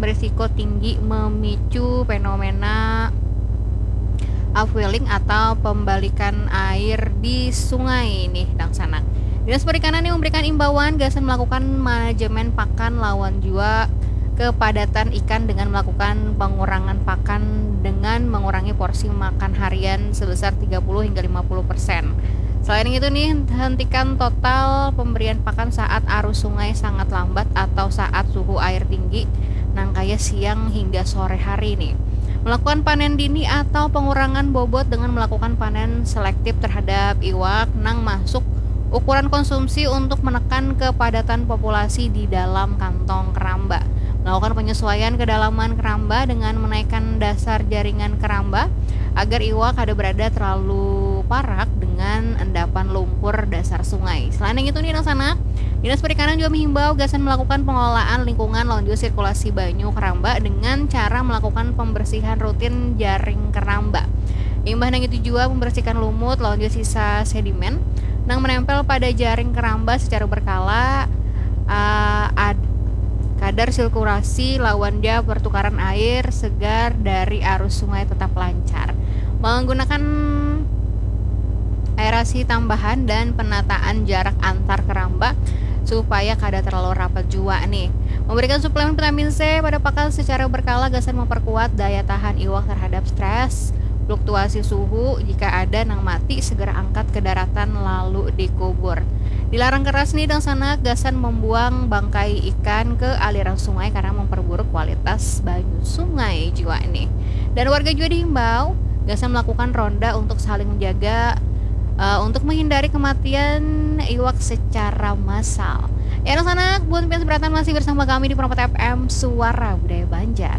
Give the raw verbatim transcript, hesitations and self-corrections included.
berisiko tinggi memicu fenomena upwelling atau pembalikan air di sungai nih, dangsanak. Dinas Perikanan nih memberikan imbauan gasan melakukan manajemen pakan lawan jua kepadatan ikan dengan melakukan pengurangan pakan dengan mengurangi porsi makan harian sebesar tiga puluh hingga lima puluh persen. Selain itu nih, hentikan total pemberian pakan saat arus sungai sangat lambat atau saat suhu air tinggi, nang kaya siang hingga sore hari nih. Melakukan panen dini atau pengurangan bobot dengan melakukan panen selektif terhadap iwak nang masuk ukuran konsumsi untuk menekan kepadatan populasi di dalam kantong keramba. Melakukan penyesuaian kedalaman keramba dengan menaikkan dasar jaringan keramba agar iwak kada berada terlalu parak dengan endapan lumpur dasar sungai. Selain itu nih, dangsanak, Dinas Perikanan juga menghimbau gasan melakukan pengelolaan lingkungan lawan juga sirkulasi banyu keramba dengan cara melakukan pembersihan rutin jaring keramba. Imbah nang itu jua membersihkan lumut lawan juga sisa sedimen nang menempel pada jaring keramba secara berkala, uh, ad, kadar sirkulasi lawan ja pertukaran air segar dari arus sungai tetap lancar. Menggunakan aerasi tambahan dan penataan jarak antar keramba supaya kada terlalu rapat jua nih. Memberikan suplemen vitamin C pada pakan secara berkala gasan memperkuat daya tahan iwak terhadap stres, fluktuasi suhu, jika ada nang mati segera angkat ke daratan lalu dikubur. Dilarang keras nih, dangsanak, gasan membuang bangkai ikan ke aliran sungai karena memperburuk kualitas banyu sungai jua nih. Dan warga juga dihimbau gasan melakukan ronda untuk saling menjaga, uh, untuk menghindari kematian iwak secara massal. Ya, dangsanak, buat pian seberatan masih bersama kami di Permata F M, Suara Budaya Banjar.